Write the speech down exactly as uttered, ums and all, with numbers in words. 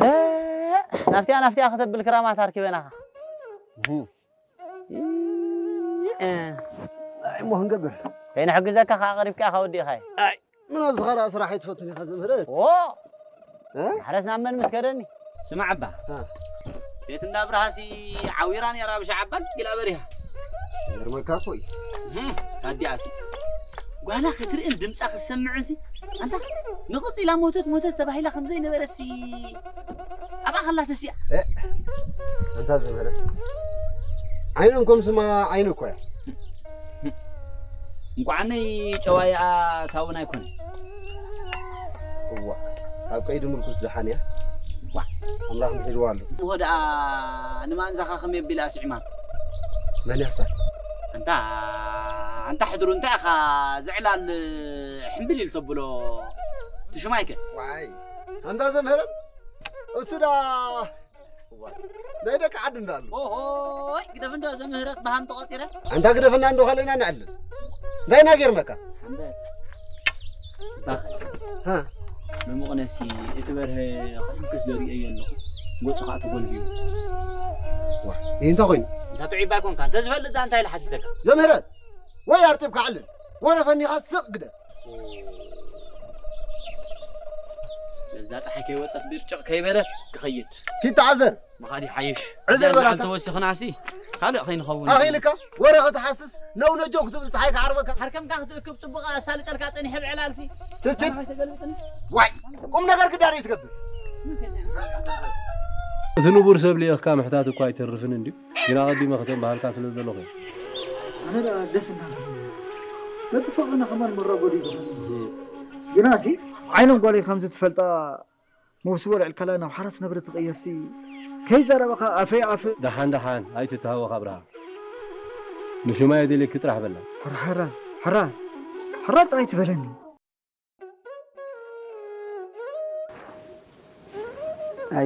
እ፣ ናፍቲያ ናፍቲያ ከተብል ክራማት አርኪበናኻ። እህ። እ። አይ፣ ሞህ እንገብር። ከይንሕግዘካ ከኣ ቀሪብካ ኢኻ ወዲእኻዮ። አይ፣ ምን ኣብ ዝኸራ ስራሕ ኣይትፈቱን ኢኻ ዘምህረት? ዎ! እ? ማሕረስ ናብ መን ምስከደኒ? ስማዕ እባ። እ። ቤት እንዳ ብርሃሲ ዓዊራ ነይራ ብሻዕ እባ ጊላ በሪሃ። ይገርመካ እኮ እዩ። እህ፣ ታዲያሲ ጓላ ክትርእን ድምጻ ክትሰምዕንሲ፣ ኣንታ ንቕጽ ኢላ ሞተት ሞተት ተባሂላ ከም ዘይነበረሲ ኣብኣ ከላ ተሲኣ። እ፣ ኣንታ ዘምህረት። ዓይኖም ከም ስማ ዓይኑ እኮ እያ። እንቋዕነይ ጨዋይኣ ሳውን ኣይኮነን። እዋ፣ ካብ ቀይዲ ምርኩስ ደሓን እያ። እዋ። ኣምላኽ ምሒልዋ ኣሎ። እሞ ደኣ ንማንዛኻ ከመይ ኣቢል ኣስዒማቶ? መን ያሳ? ኣንታ፣ ኣንታ ሕድሩ እንታይ ኢኻ ዝዕላል ሕምብል ኢል ተብሎ ትሽማይከ? ዋይ፣ ኣንታ ዘምህረት፣ እሱ ደኣ እዋ፣ ናይ ደቂ ዓዲ እንዳሉ። ኦሆይ፣ ግደፍ እንዶ ዘምህረት በሃም ተቆጺረ። ኣንታ ግደፍና እንዶ ካለና ንዕልል። እንታይ ናጌርመካ? ሓምበት። ባኸ። ሃ። መሙቕነሲ እቲ በርሀ ክሕንክስ ዘርእዮ ኣለኹ። ገጹ ኸኣ ተጎልቢቡ። ዋ፣ ይህ እንታይ ኮይኑ? እንታ ጥዑይ ባይኮንካ፣ እንተ ዝፈልጥ ዳ እንታይ ኢለ ሓቲተካ? ዘምህረት፣ ወይ ኣርጢብካ ዕልል፣ ወረ ፈኒኻ ስቕ ግደ። እዛ ጸሓይ ከይወጸት ብርጭቕ ከይበለት ክኸይድ። ኪድ ተዓዘር። ምኻድ ይሓይሽ። ዕዘር እዛ በላታ። በዓል ተወሲኽናሲ ካልእ ከይንኸውን። ኣኺልካ ወረ ክትሓስስ ነው ነጆ ክትብል ጸሓይ ክዓርበካ። ሓርከምካ ክትእክብ ጽቡቕ ኣሳልጠልካ ጸኒሐ ብዕላልሲ። ትችት። ኣና ከይተገልብጥኒ። ዋይ፣ ቁም ነገር ግዳር ይትገብር። እቲ ንቡር ሰብ ልኢኽካ ምሕታት እኳ ኣይተርፍን እንድዩ። ግና ኣቐዲመ ከተንበሃልካ ስለ ዘለኹ። ኣነ ደኣ ደስ እናበለኒ። በቲ ፍቕርና ከማን መራጎዲ ዝኾነ። እም። ግናሲ ዓይኖም ጓለይ ከምዚ ትፈልጣ መውስቦ ልዕል ከላ ናብ ሓራስ ነብረ ትቕየሲ። ከይዘረበኻ ኣፈይ ኣፈ። ደሓን ደሓን ኣይትተሃወኽ ኣብርሃ። ንሹማይ ኣደልየኪ ጥራሕ በላ። ሕራ፣ ሕራ፣ ሕራ፣ ሕራ ጥራይ ትበለኒ።